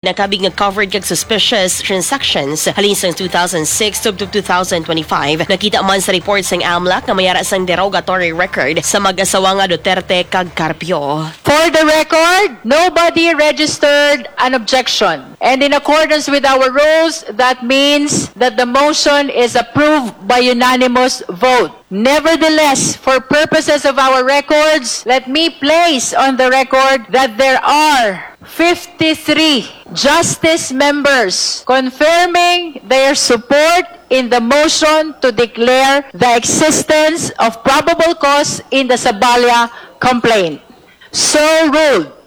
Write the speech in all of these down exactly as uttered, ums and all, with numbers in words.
nakabig nga covered kag suspicious transactions halin sang two thousand six tubtob two thousand twenty-five. Nakita man sa report sang amlac nga may ara sang derogatory record sa mag-asawa nga Duterte kag Carpio. For the record, nobody registered an objection. And in accordance with our rules, that means that the motion is approved by unanimous vote. Nevertheless, for purposes of our records, let me place on the record that there are fifty-three justice members confirming their support in the motion to declare the existence of probable cause in the Sabala complaint. So ruled.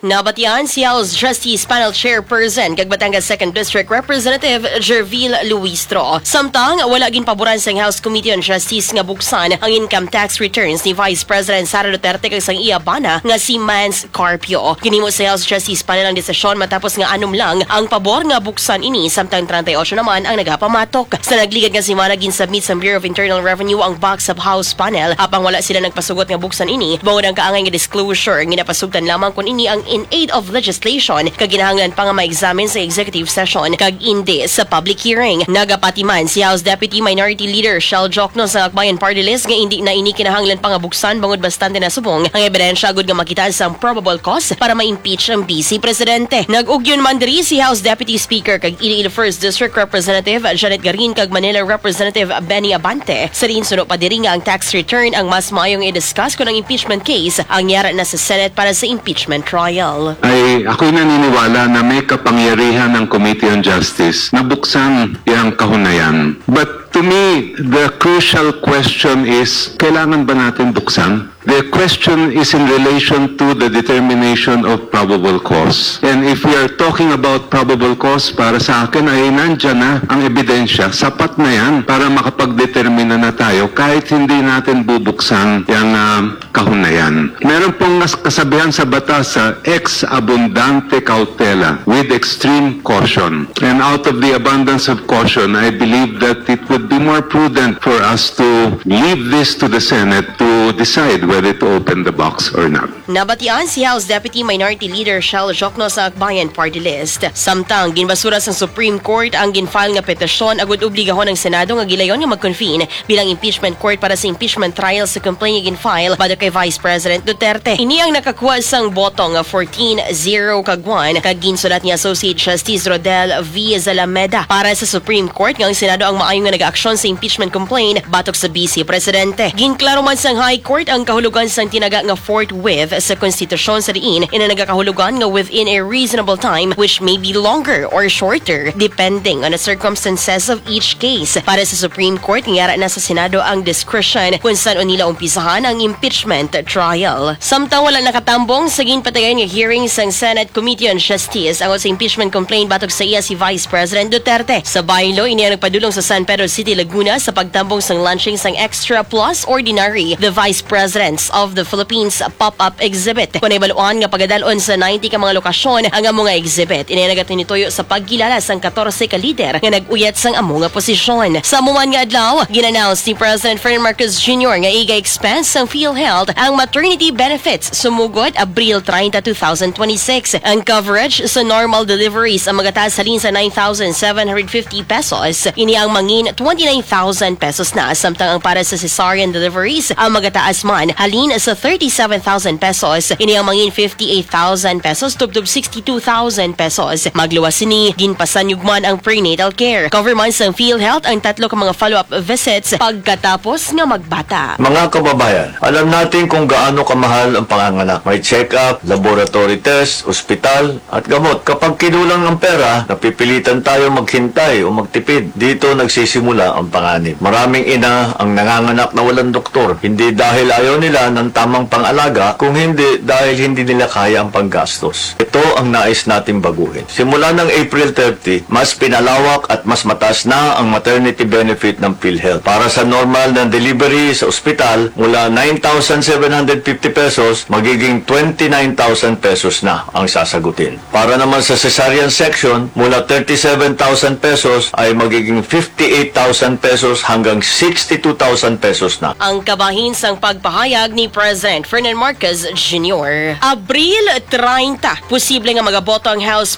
Nabatian si House Justice Panel Chairperson kag Batangas Second District Representative Jervil Luistro. Samtang wala ginpaboran sang House Committee on Justice nga buksan ang income tax returns ni Vice President Sara Duterte kag sang iya bana nga si Mans Carpio. Ginhimo sa House Justice Panel ang desisyon matapos nga anom lang ang pabor nga buksan ini, samtang treinta y ocho naman ang nagapamatok. Sa nagligad nga semana, ginsubmit sa Bureau of Internal Revenue ang box sa House Panel, apang wala sila nagpasugot nga buksan ini, bangod ang kaangay nga disclosure nga napasugtan lamang kon ini ang in aid of legislation kag kinahanglan pa nga ma-examine sa executive session kag indi sa public hearing. Nagapati man si House Deputy Minority Leader Shell Jokno sa Akbayan Party List nga indi na ini kinahanglan pa nga buksan, bangod bastante na subong ang ebidensya agud nga makita sang probable cause para ma-impeach ang Vice Presidente. Nag-ugyon man diri si House Deputy Speaker kag Iloilo First District Representative Janet Garin kag Manila Representative Benny Abante. Sa diin suno pa diri nga ang tax return ang mas maayong i-discuss kon ang impeachment case ang yara na sa Senate para sa impeachment trial. Ay, ako'y naniniwala na may kapangyarihan ang Committee on Justice na buksan iyang kahunayan. But to me, the crucial question is, kailangan ba natin buksan? The question is in relation to the determination of probable cause. And if we are talking about probable cause, para sa akin ay nandyan na ang ebidensya. Sapat na yan para makapagdetermina na tayo kahit hindi natin bubuksan yung ah, kahunayan. Meron pong nas- kasabihan sa batas sa ex abundante cautela, with extreme caution. And out of the abundance of caution, I believe that it would be more prudent for us to leave this to the Senate to decide whether to open the box or not. Nabatian si House Deputy Minority Leader Shell Jokno sa Akbayan Party List. Samtang ginbasura sang Supreme Court ang ginfile nga petisyon agud obligahon ang Senado nga gilayon nga mag-convene bilang impeachment court para sa impeachment trial sa complaint nga ginfile batok kay Vice President Duterte. Ini ang nakakuha sang boto nga fourteen zero kag one, kag ginsulat ni Associate Justice Rodel V Zalameda para sa Supreme Court nga ang Senado ang maayo nga nag-aksyon sa impeachment complaint batok sa Vice Presidente. Ginklaro man sang High Court ang kahulogan sang tinaga nga fourth wave sa konstitusyon, sa diin ina nagakahulugan nga within a reasonable time, which may be longer or shorter depending on the circumstances of each case. Para sa Supreme Court, nga yara na sa Senado ang discretion kung san-o nila umpisahan ang impeachment trial. Samtang wala nakatambong sa ginpatigayon nga hearing sang Senate Committee on Justice ang sa impeachment complaint batok sa iya si Vice President Duterte. Sa baylo, ini ang nagpadulong sa San Pedro City, Laguna sa pagtambong sang launching sang Extra Plus Ordinary, The Vice Presidents of the Philippines pop-up exhibit. Kon nahibaluan nga pagadal-on sa ninety ka mga lokasyon ang amo nga exhibit. Ini nagatinituyo sa pagkilala sang katorse ka lider nga nag-uyat sang amo nga posisyon. Sa amo man nga adlaw, gin-announce ni President Ferdinand Marcos Junior nga iga-expense sang PhilHealth ang maternity benefits sumugod Abril treinta, two thousand twenty-six. Ang coverage sa normal deliveries ang magataas halin sa nine thousand seven hundred fifty pesos, ini ang mangin twenty-nine thousand pesos na, samtang ang para sa cesarean deliveries ang magataas man halin sa thirty-seven thousand pesos, ini ang mangin fifty-eight thousand pesos tubtob sixty-two thousand pesos. Magluwas sini, ginpasanyog man ang prenatal care. Cover man sang PhilHealth ang tatlo ka mga follow-up visits pagkatapos nga magbata. Mga kababayan, alam natin kung gaano kamahal ang panganganak. May check-up, laboratory test, ospital, at gamot. Kapag kinulang ang pera, napipilitan tayo maghintay o magtipid. Dito nagsisimula ang panganib. Maraming ina ang nanganganak na walang doktor, hindi dahil ayaw nila ng tamang pang-alaga, kung hindi dahil hindi nila kaya ang panggastos. Ito ang nais nating baguhin. Simula ng April thirty, mas pinalawak at mas mataas na ang maternity benefit ng PhilHealth. Para sa normal na delivery sa ospital, mula nine thousand seven hundred fifty pesos, magiging twenty-nine thousand pesos na ang sasagutin. Para naman sa cesarean section, mula thirty-seven thousand pesos ay magiging fifty-eight thousand pesos hanggang sixty-two thousand pesos na. Ang kabahin sang pagpahayag ni President Ferdinand Marcos Junior. Abril treinta, posible nga magaboto ang House